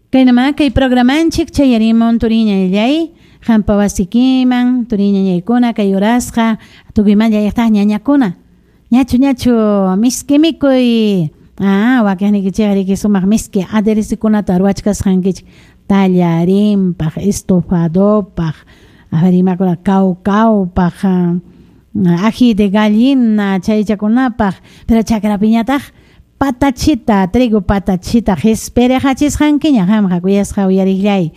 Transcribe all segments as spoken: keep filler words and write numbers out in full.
Kaynama kay programanchik chayarimun turiñallay qampa wasikiman turiñañaykuna kay urasqa tukuymanta llaqtaq ñañakuna ñachu ñachu miski mikuy ah wakiqnikichikqa riki sumaq miski aderezokunata ruwachkasqankichik tallarinpaq estofadopaq a ver imakuna kawkawpaq ají de gallina chaychakunapaq pero chakrapiñataq patachita trigo patachita qispiriqachisqankiña qamqa kuyasqa uyariqllay.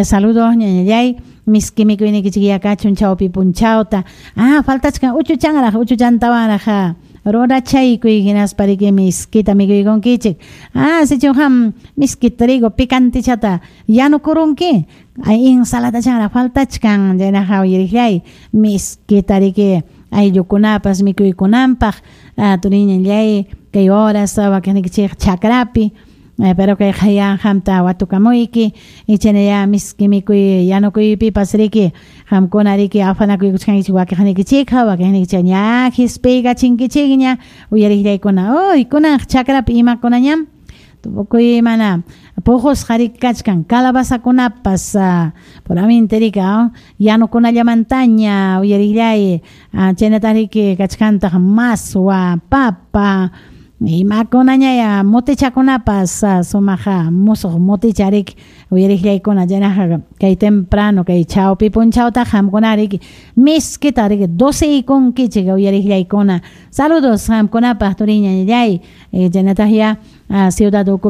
Saludos ñañallay, miski mikuynikichik kachun chawpi punchawta. Ah, faltachkan uchuchanraq, uchuchantawanraq rurachaykuy hinaspa riki miskita mikuykunkichik. Ah, sichum qam miski trigo picantichata yanukurunki, ay ensaladachanraq faltachkan chaynaqa uyariqllay miskita riki ayllukunapas mikuykunanpaq turiñallay kay horas wakiqnikichik chakrapi pero kay qaya qamta watukamuyki ichanaya miski mikuy yanukuypipas riki qamkuna riki afanakuykuchkankichik wakiqnikichikqa wakiqnikichik ña qispiykachinkichikña uyariqllaykuna uy kunan chakrapi imakunañam tukuy mana puqusqa riki kachkan calabazakunapas puramente riki yanukunallamantaña uyariqllay chaynataq riki kachkantaq maswa papa imakunañaya motichakunapas sumaq musuq moticha riki uyariqllaykuna chaynaqa kay temprano kay chawpi punchawtaqa qamkuna riki miskita riki doceykunkichik uyariqllaykuna. Saludos qamkunapaq turiñallay chaynataq ya ciudad ukupi.